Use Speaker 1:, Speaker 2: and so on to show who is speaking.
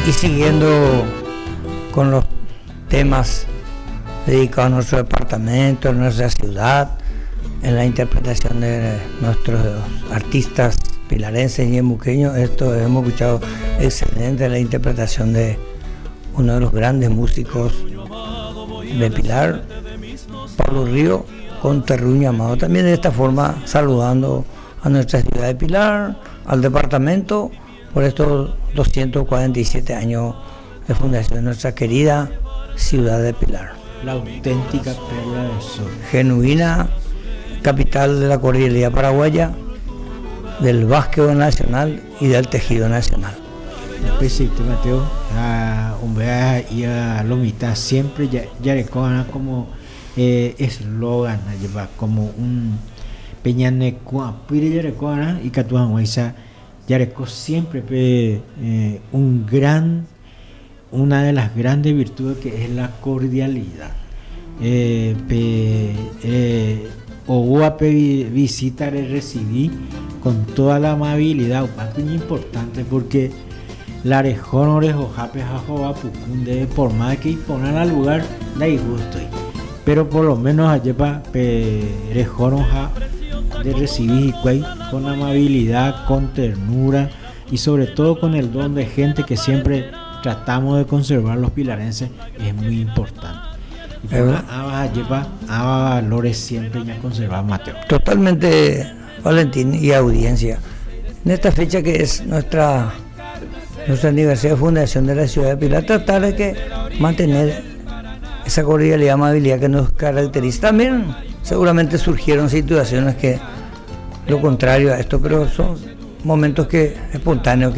Speaker 1: Y siguiendo con los temas dedicados a nuestro departamento, a nuestra ciudad, en la interpretación de nuestros artistas pilarenses y ñemuqueños, esto hemos escuchado excelente la interpretación de uno de los grandes músicos de Pilar, Pablo Río, con Terruño Amado. También de esta forma saludando a nuestra ciudad de Pilar, al departamento, por estos 247 años de fundación de nuestra querida ciudad de Pilar.
Speaker 2: La auténtica perla del sur.
Speaker 1: Genuina capital de la cordialidad paraguaya, del básquetbol nacional y del tejido nacional.
Speaker 2: Upeichaite Mateo, ha umbea ia lo mitã siempre jarekóva'erã como eslogan ajépa como un pe ñane ku'apýre jarekóva'erã ikatu hag̃uáicha jareko siempre pe un gran una de las grandes virtudes que es la cordialidad pe oúva pe visita rerresivi con toda la amabilidad upéva iñimportante porque la rehórõ rehohápe ha hova puku ndéve por más que iporã la lugar ndaigústoi pero por lo menos ajépa pe rehórõ ha nderresivi hikuái con amabilidad, con ternura y sobre todo con el don de gente que siempre tratamos de conservar los pilarenses es muy importante. Iporã ãva ajépa ãva valores siempre ñaconserva Mateo.
Speaker 1: Totalmente Valentín y audiencia. En esta fecha que es nuestra nuestro aniversario de fundación de la ciudad de Pilar, tratar de que mantener esa cordialidad y amabilidad que nos caracteriza. También seguramente surgieron situaciones que lo contrario a esto, pero son momentos que espontáneos que.